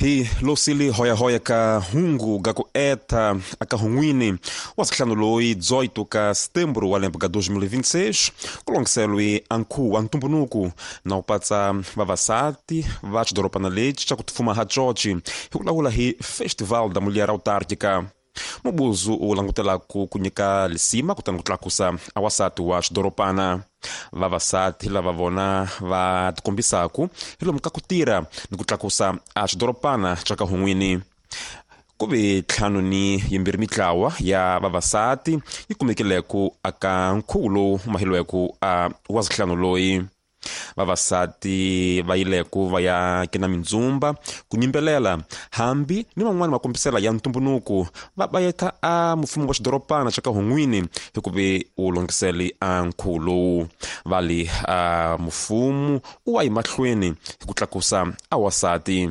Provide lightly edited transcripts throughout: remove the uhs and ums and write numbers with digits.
Hi losili hoyahoya ka hungu ga ku eta aka hunwini wa sihlanu loyi 18 ka setembro wa lembe ka 2026 kulongiselwe ankhu wa ntumbunuku na u patsa vavasati va xidorobana lexi xa ku tifuma ha coci hi ku lawula hi Festival da Mulher Autárquica. Mubuzu u langutelaku ku nyika lisima kutani ku tlakusa awasati wa xidorobana. Vavasati lava vona va tikombisaku hi lomu ka ku tirha ni ku tlakusa a xidorobana xa ka hun'wini. Ku ve 52 mitlawa ya vavasati yi kumekileku aka nkhuvo lowu mahilweku a wa zihlanu loyi. Vavasati va yileku va ya kena mindzumba ku nyimbelela hambi ni van'wani makombisela ya ntumbunuku va bayeta a mfumo wa xidorobana xa ka hun'wini hikuve u longisele a nkhuvo lowu. Va li a mfumo u wa yi mahlweni hi ku tlakusa a wasati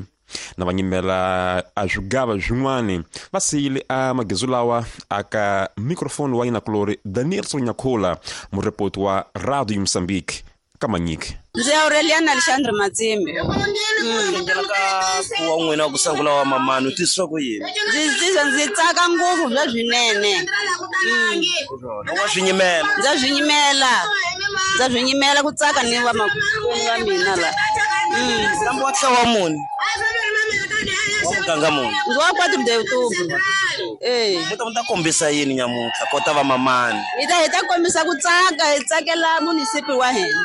na va nyimela a swigava swin'wani va siyile a magezu lawa aka microphone wa yinakulori Danielson Nyakhula, murepoti wa Radio Mozambique ka Manyiki. Ndzi Aureliana Alexandre Matsimi. Ndlela ka ku wa n'wina ku sungula wa mamani u twisisa ku yini? Ndzi tsaka ngopfu bya swinene. Wa swi nyimela. Ndza swi nyimela. Ndza swi nyimela ku tsaka ni va makwenu va mina la. Kambe wa ntlawa muni? Wa muganga muni? Ndzi wa 4 de outubro. Mi ta kombisa yini nyamuntlha kota va mamani? Hi ta kombisa ku tsaka, hi tsakela munisipi wa hina.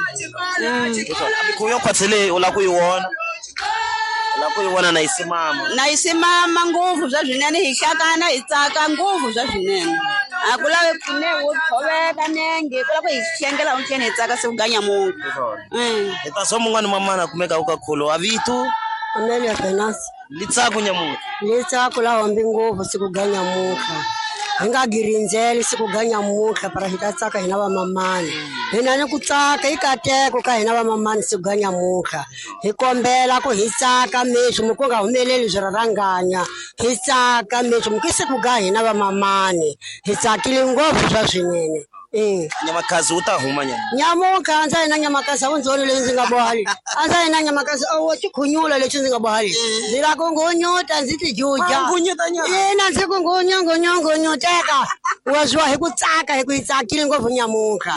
Mikhuvo yo khwatsi leyi u lava ku yi vona? U lava ku yi vona na yi simama? Na yi simama ngopfu bya swinene, hi hlakana hi tsaka ngopfu bya swinene. A ku lavi pfune wo tshoveka nenge, ku lava ku hi hlengela untlheni hi tsaka siku ga nyamuntlha. Hi ta swa mun'wana mamana a kumeka ka kholo a vito Amelia Venance. Litsako nyamuntlha. Litsako la hombi ngopfu siku ga nyamuntlha. Hi nga girindzeli siku ga nyamuntlha para hi ta tsaka hina va mamani. Hina ni ku tsaka i kateko ka hina va mamani siku ga nyamuntlha. Hi kombela ku hi tsaka meswi mi ku nga humeleli swi rharanganya. Hi tsaka meswi mi ku siku ga hina va mamani. Hi tsakile ngopfu swa swinene. Nyamakasi wu ta huma nyama. Nyamuntlha a ndza yina nyamakasi a wu ndzi voni leyi ndzi nga boha leyi. A ndza yina nyamakasi a wo tikhunyula lexi ndzi nga boha leyi. Ndzi lava ku ngunyuta ndzi ti juja. Ngunyuta nyama. Ina ndzi ku ngunyu ngunyu ngunyuteka. Wa swi hi ku tsaka hi ku hi tsakile ngopfu nyamuntlha.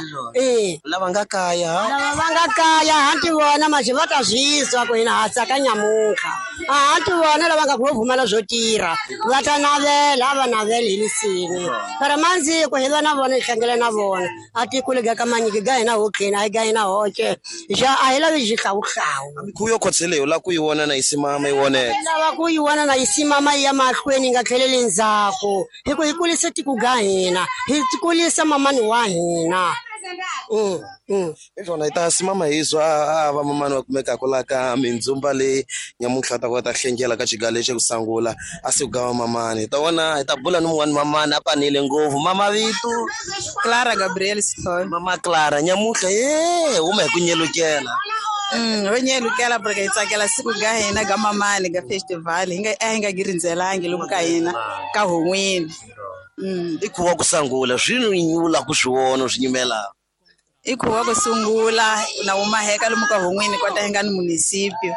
Lava nga kaya. Lava va nga kaya ha ti vona manje va ta zwiswa ku hina ha tsaka nyamuntlha. A ha ti vona lava nga ku vo pfumala swo tirha. Va ta navela a va naveli hi lisini. Para mandziko hi va na vona hi hlangela na vona. A tikule ga ka manyiki ga hina hotleni a hi ga hina hoxe. Xa a hi lavi xihlawuhlawu. Mikhuvo yo khwatsi leyi u lava ku yi vona na yi simama yi voneka. Hi lava ku yi vona na yi simama yi ya mahlweni yi nga tlheleli ndzhaku. Hi ku hi kulisa tiko ga hina, hi kulisa mamani wa hina. Hi swona hi ta simama hi zwa a va mamani va kumekaka laha ka mindzumba leyi nyamuntlha ta ku ta hlengela ka xiga lexi ku sungula a siku ga va mamani. Hi ta vona hi ta bula ni mun'wani mamani a panile ngopfu. Mama vito? Clara Gabriel Sithole. Mama Clara nyamuntlha huma hi ku nyelukela. Ho nyelukela porque hi tsakela siku ga hina ga mamani ga festival hi nga a hi nga girindzelangi lomu ka hina ka hon'wini. I khuva ku sungula swi nyula ku swi vona swi nyimela. I khuva ku sungula na wu maheka lomu ka hon'wini kota hi nga ni munisipio.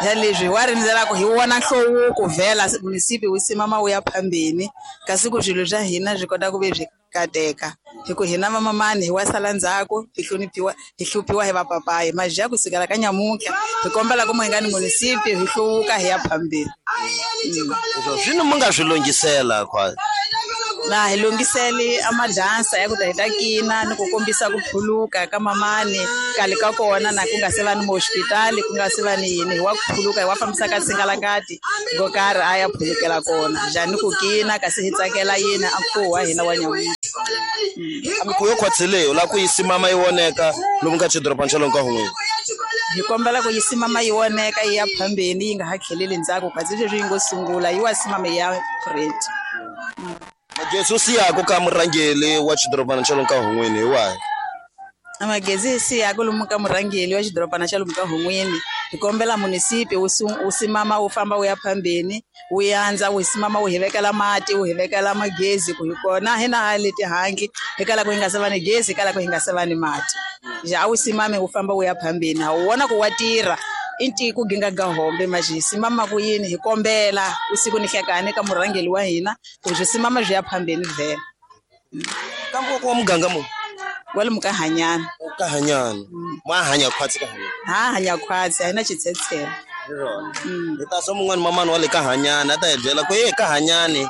Ya leswi wa rindzela ku hi vona nhluvuko vhela munisipio wu simama wu ya phambeni kasi ku swilo swa hina swi kota ku ve swi kateka. Hi ku hina vamamani hi wa sala ndzhaku hi hloniphiwa hi hluphiwa hi vapapayi maja kusukela ka nyamuntlha hi kombela ku mu hi nga ni munisipio hi hluvuka hi ya phambeni. Swino mi nga swi lunghisela khwa? Na hi lunghiseli a madansa ya ku ta hi ta kina ni ku kombisa ku phuluka ka mamani kale ka kona na ku nga se va ni hospitali ku nga se va ni yini hi wa ku phuluka hi wa fambisa ka tsingalakati ngo karhi a ya phulukela kona njhani ku kina kasi hi tsakela yini a nkhuvo wa hina wa nyamuntlha. A mikhuvo yo khwatsi leyi u lava ku yi simama yi voneka lomu ka xidorobana xa lomu ka hun'wini? Hi kombela ku yi simama yi voneka yi ya phambeni yi nga ha tlheleli ndzhaku kasi sweswi yi ngo sungula yi wa simama yi ya great. Magezi u siyaka ka murhangeri wa xidorobana xa lomu ka hun'wini hi wahi? Magezi hi siyaka lomu ka murhangeri wa xidorobana xa lomu ka hun'wini hi kombela munisipi wu simama wu famba wu ya phambeni wu yandza wu simama wu hi vekela mati wu hi vekela magezi ku hi kona hina ha le tihangi hi kala ku hi nga se va ni gezi hi kala ku hi nga se va ni mati. Ja a wu simami wu famba wu ya phambeni ha wu vona ku wa tirha. I ku ginga ga hombe majhi simama ku yini hi kombela usiku ni hlekane ka murhangeli wa hina ku byi simama byi ya phambeni vhela. Kambe ku wa muganga mu kwalomu ka Hanyana. Ka Hanyana. Ma hanya khwatsi ka Hanyana. Ha hanya khwatsi, a hi na xitshetshela. Hi ta swa mun'wana mamani wa le ka Hanyana a ta hi byela ku ye ka Hanyane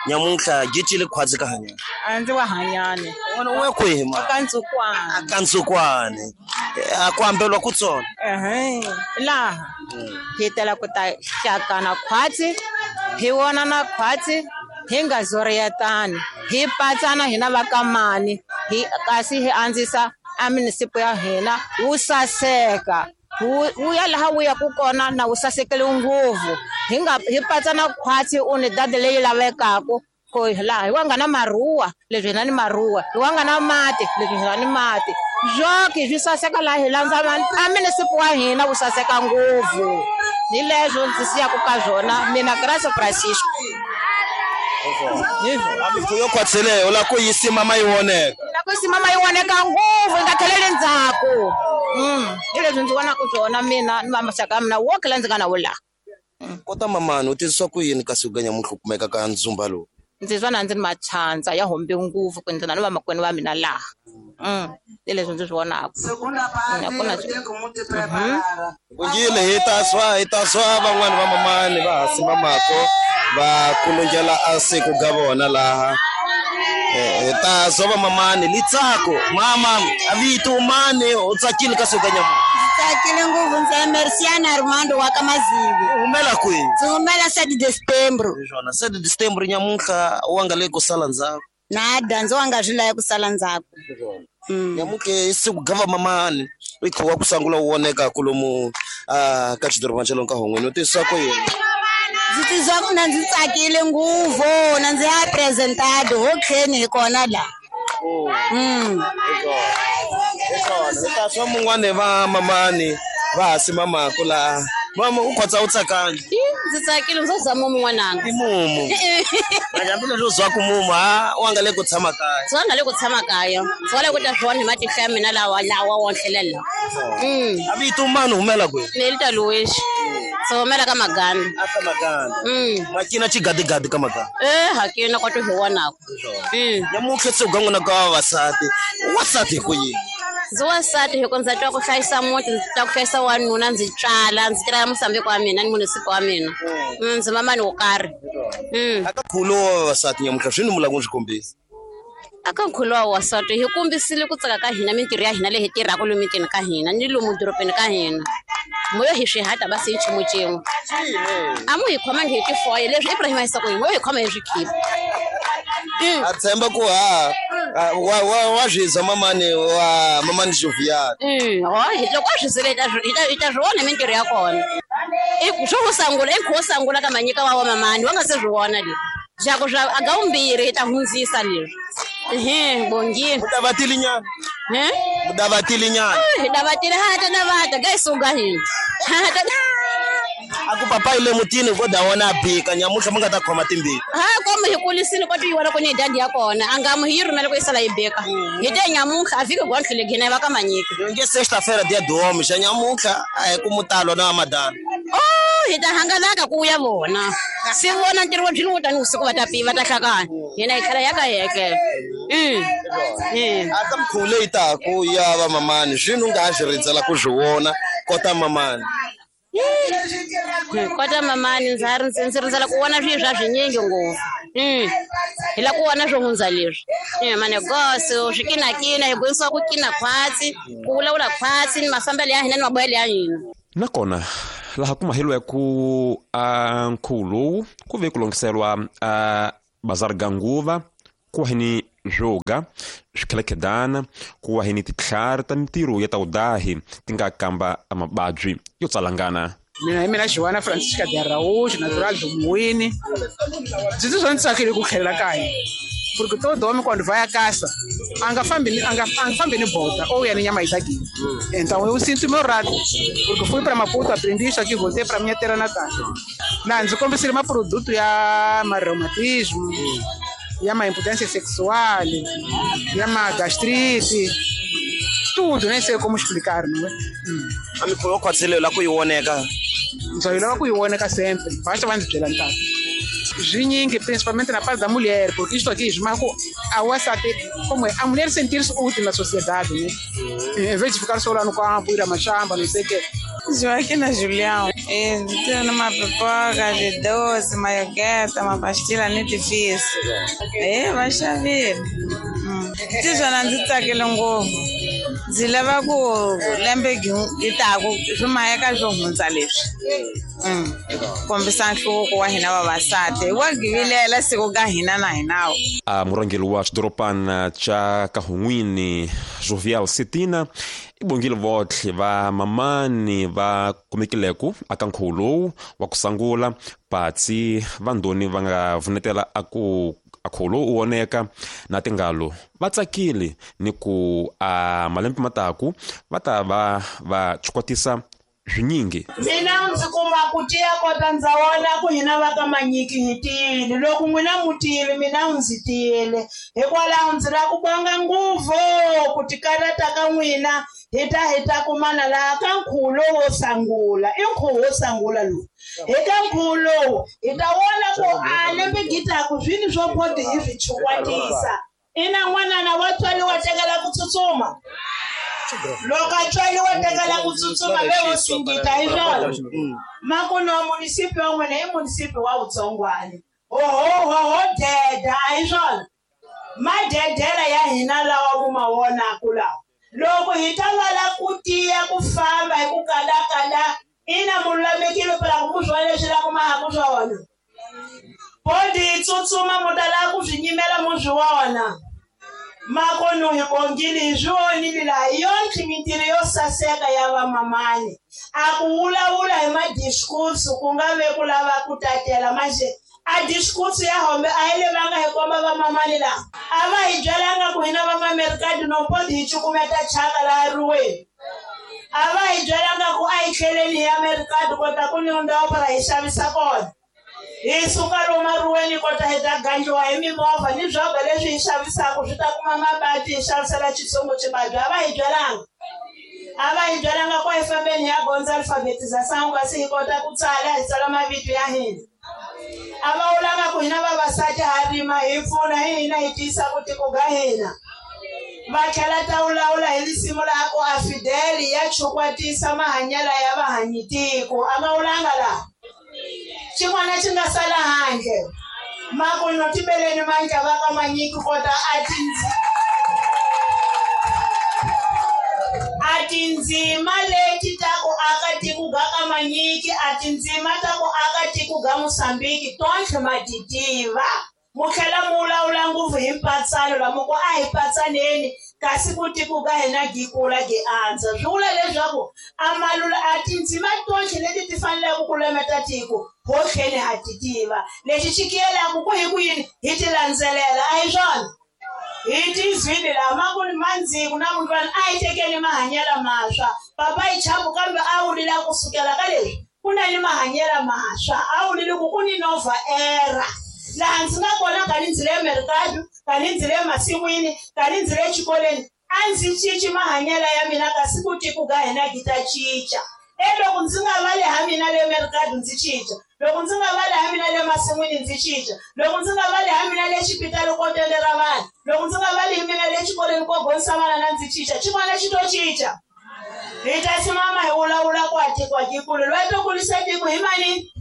nyamuntlha gicile khwatsi ka Hanyana. A ndzi wa Hanyane. N'wana u ya kwihi ma? Ka Ntsukwana. Ka Ntsukwane. A ku ambelwa ku tsona. Laha hi tela ku ta hlakana khwatsi, hi vonana khwatsi, hi nga zoriyetani, hi patsana hina va ka mani, hi kasi hi andzisa a munisipo ya hina wu saseka. Wu ya laha wu yaku kona na wu sasekele ngopfu. Hi nga hi patsana khwatsi u ni dadi leyi lavekaku ku laha hi wa nga na maruwa leswi hina ni maruwa, hi wa nga na mati leswi hina ni mati. Swoki swi saseka laha hi landza a munisipo wa hina wu saseka ngopfu. Hi leswo ndzi siyaku ka swona mina Graça Francisco. Yo khwatseleyo la ku yi simama yi voneka. La ku simama yi voneka ngopfu yi nga tlheleli ndzhaku. Hi leswi ndzi vonaka swona mina ni maxaka ya mina woke la ndzi nga na wo laha. Kota mamani u tizwa ku yini kasi u ga nyamuntlha u kumeka ka ndzumba lowu? Ndzi twa na ndzi ni machandza ya hombe ngopfu ku ndzi na ni vamakwenu va mina laha. Hi leswi ndzi swi vonaka. Kungile hi ta swa van'wani va mamani va ha simamako va kulungela a siku ga vona laha. Hi ta swa va mamani litsako mama a vito mani u tsakile ka siku ga nyamuntlha. Tsakile ngopfu ndzi Merciana Armando wa ka Mazivi. U humela kwihi? Ndzi humela 7 de Setembro. Hi swona 7 de Setembro nyamuntlha wa nga le ku sala ndzhaku. Nada ndzi wa nga swi lavi ku sala ndzhaku. Nyamuntlha i siku ga va mamani i kha wa ku sangula wu voneka kulomu ka xidorobana xa lomu ka Hongweni u tizwa ku yini? Ndzi tizwa ku na ndzi tsakile ngopfu na ndzi apresentado ho tlheni hi kona laha. Hi ta swa mun'wani va mamani va ha simamako laha. Mama u khotsa u tsakangi? Ndzi tsakile ndzi za mumu n'wananga. I mumu. Hambileswi u zwaku mumu ha wa nga le ku tshama kaya. Ndzi wa nga le ku tshama kaya. Ndzi wa le ku ta swona hi matihlo ya mina lawa lawa wonhlelela. A vito mani humela kwihi? Nelita Luiz. Ndzi humela ka Maganda. A ka Maganda. Makina xigadigadi ka Maganda. Hakina kwato hi vonaka. Nyamuntlha se u ga n'wina ka vavasati. Wasati hi ku yini? Ndzi wansati hi ku ndza twa ku hlayisa muti, ndzi twa ku hlayisa wanuna, ndzi tswala, ndzi tirhela Mosambiki wa mina ni munisipo wa mina. Ndzi mamani wo karhi. Aka nkhulo wa vavasati nyamuntlha swi ni mula ku swi kombisa? Aka nkhulo wa vavasati hi kombisile ku tsaka ka hina mintirho ya hina leyi hi tirhaka lomu mitini ka hina ni lomu dorobeni ka hina. Moyo hi swihata basi hi nchumu xin'we. A mu hi khomangi hi tifoye leswi Ibrahim a yisa ku hi moyo hi khoma hi swikhipa. A tshemba ku ha wa swi mamani wa mamani Jovial. Loko a swi zile hi ta swi vona mintirho ya kona. I swo ku sangula i nkhuvo sangula ka manyika wa mamani wa nga se swi vona leswi. Swa ku swa aga vumbirhi hi ta hundzisa leswi. Bongile. Mudavatili nyana. Mudavatili nyana. Hi davatile ha ta davata ga isuga hina. Ha ta A ku papa ile mutini ko da wona bika nyamuntlha mi nga ta khoma timbili. Ha komu hi kulisile ko ti wona ku ni dadi ya kona a nga mu hi rhumela ku yi sala yi beka. Hi te nyamuntlha a fiki gondlele gina va ka manyika. Nge sexta-feira dia do homem xa nyamuntlha a hi ku mutalo na madana. Hi ta hangalaka ku ya vona. Si vona ntirho wa byi tani usiku va ta piva ta hlakana. Hina hi tlhela ya ka hekela. A ka mikhuvo leyi taku ya va mamani swi nu nga ha swi rindzela ku swi vona kota mamani. Kota mamani ndzi rindzela ku vona swilo swa swinyingi ngopfu. Hi la ku vona swo hundza leswi. Manegoso swikinakina hi bohisiwa ku kina khwatsi, ku vulavula khwatsi ni mafambelo ya hina ni mabohelo ya hina. Nakona laha ku mahelo ku a nkhuvo lowu ku ve ku longhiselwa a bazar ga nguva ku wa ni swoga swikhelekhedana ku wa ni titlhari ta mintirho ya ta wudahi ti nga kamba mababyi yo tsalangana. Mina hi mina Joana Francisca de Araújo, natural do Muine. Ndzi tizwa ndzi tsakile ku tlhelela kaya. Porque todo homem quando vai à caça, anga fambi ni bota ou ya ni nyama itaki. Então eu sinto meu rato, porque fui para Maputo, aprendi isso aqui, voltei para minha terra natal. Na ndzi kombisile maproduto ya mareumatismo, ya ma impotência sexual, ya ma gastrite. Tudo, nem sei como explicar, não é? A mikhuvo khwatsile la ku yi voneka. Ndzo yi lava ku yi voneka sempre, basta va ndzi byela ntata. Zwinyingi, principalmente na parte da mulher, porque isto aqui esmaga a wansati, como é, a mulher sentir-se útil na sociedade, né? Em vez de ficar só lá no campo, ir a machamba, não sei o quê. Joaquina Julião, tenho uma pipoca de doce, uma iogurte, uma pastilha muito difícil. É, vai chover. Tizona ndzi tsakile ngopfu. Ndzi lava ku lembe yi taku swi maheka swo hundza leswi. Kombisa nhluvuko wa hina vavasati. Wa givilela siku ka hina na hinawo. A murhangeri wa xidorobana xa Kahungwini, Jovial Setina, i bongile votlhe va mamani va kumekileku aka nkhuvo lowu wa ku sangula patsi va ndoni va nga vunetela a ku akhuvo lowu u voneka na tingalo va tsakile ni ku a malembe mataku va ta va va chukwatisa swinyingi. Mina ndzi kuma ku tiya kota ndza wona ku hina va ka Manyiki hi tiyile, loko n'wina mu tiyile mina ndzi tiyile, hikwalaho ndzi lava ku bonga ngopfu ku tikarhata ka n'wina hi ta kumana laha ka nkhuvo lowo wo sangula. I nkhuvo wo sangula lowu, hi ka nkhuvo lowu hi ta vona ku a lembe gitaku swini swo bodi hi swi chukwatisa. Ina n'wanana wa tswariwa tekela ku tsutsuma. Loko a tswariwa tekela ku tsutsuma ve wo singita hi swona. Makuno wa munisipi wa n'wina i munisipi wa Vutsongwani. Oho deda a hi swona. Madedela ya hina lawa ku ma vonaku lawa. Loko hi ta lwala ku tiya ku famba hi ku kalakala, ina mululamekile phela ku mu swona leswi la ku mahaku swona. Bodi yi tsutsuma mu ta lava ku swi nyimela mu swi vona. Makono hi bongile hi swi vonile laha hi yonke mintirho yo saseka ya vamamani. A ku vulavula hi madiskursu ku nga ve ku lava ku tatela manje. A diskursu ya hombe a yi levanga hi komba vamamani laha. A va hi byelanga ku hina vamamerikati no bodi hi cukumeta chaka laha riweni. A va hi byelanga ku a hi tlheleni hi Amerikati kota ku ni ndhawu para hi xavisa kona. Hi suka lomu riweni kota hi ta gandliwa hi mimovha ni swongo leswi hi xavisaka swi ta kuma mabadi hi xavisela xitsongo xibadi. A va hi byelanga. A va hi byelanga ku hi fambeni hi ya gondza alfabetização kasi hi kota ku tsala hi tsala mavito ya hina. A va vulanga ku hina vavasati ha rima hi pfuna hi hina hi tiyisa ku tiko ga hina. Va tlhela ta vulavula hi risimu laha ku a Fidel ya chukwatisa mahanyelo ya vahanyitiko. A va vulanga laha. Xin'wana xi nga sala handle makuno tibeleni mandla va ka Manyiki kota a tindzima leti ta ku aka tiko ga ka Manyiki, a tindzima ta ku aka tiko ga Mosambiki tontlhe ma ti tiva. Mu tlhela mu vulavula ngopfu hi mpatsano lama ku a hi patsaneni kasi ku tiko ka hina gi kula gi andza. Swi vula leswaku a malula a tindzima tontlhe leti ti faneleke ku lemeta tiko ho tlheni ha ti tiva. Lexi xi kiyelaka ku hi ku yini hi ti landzelela a hi swona. Hi tizwile laha maku mandziku na mundlwana a hi tekeni mahanyelo maswa. Papa hi chavu kambe a wulile kusukela ka leswi ku na ni mahanyelo maswa, a wulile ku ku ni nova era. Laha ndzi nga kona ka ni ndzi le Merikado, ka ni ndzi le masin'wini, ka ni ndzi le xikolweni, a ndzi cinci mahanyelo ya mina kasi ku tiko ka hina gi ta cinca. E loko ndzi nga va le ha mina le Merikado ndzi cinca, loko ndzi nga va le ha mina le masin'wini ndzi cinca, loko ndzi nga va le ha mina le xipitali ko tendela vanhu, loko ndzi nga va le mina le xikolweni ko gonisa vana na ndzi cinca, xin'wana xi to cinca. Hi ta simama hi vulavula ku a tiko a kikulu loyi to kulisa tiko hi mani.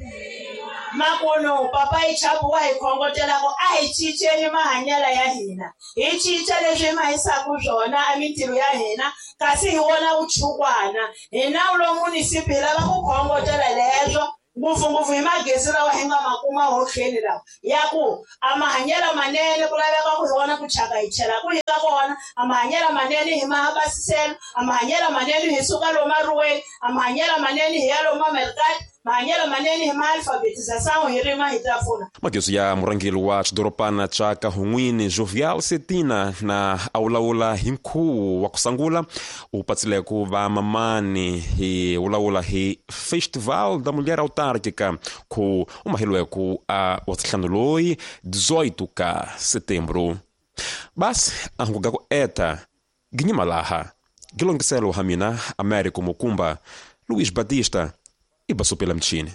Makuno papa hi chavu wa hi khongotela ku a hi cinceni mahanyelo ya hina, hi cinca leswi hi mahisaka swona a mintirho ya hina kasi hi wona vuchukwana. Hi nawu lowu munisipi hi lava ku khongotela leswo ngopfungopfu hi magezi lawa hi nga ma kuma hotlheni lawa ya ku a mahanyelo manene ku laveka ku hi wona ku chaka hi chela ku hi ka kona, a mahanyelo manene hi ma basiselo, a mahanyelo manene hi suka lomu riweni, a mahanyelo manene hi ya lomu Merikati, mahanyelo manene hi ma alfabetização hi rima hi ta pfuna. Magezi ya murhangeri wa xidorobana xa Kahungwini Jovial Setina na a vulavula hi nkhuvo wa ku sangula u patsile ku va mamani hi vulavula hi Festival da Mulher Autárquica ku u maheliweku a wa ntlhanu loyi 18 ka setembro. Basi a hunguka ku eta ginyima laha Gilongiselo ha mina Américo Mukumba, Luiz Batista, ibasupela mchini.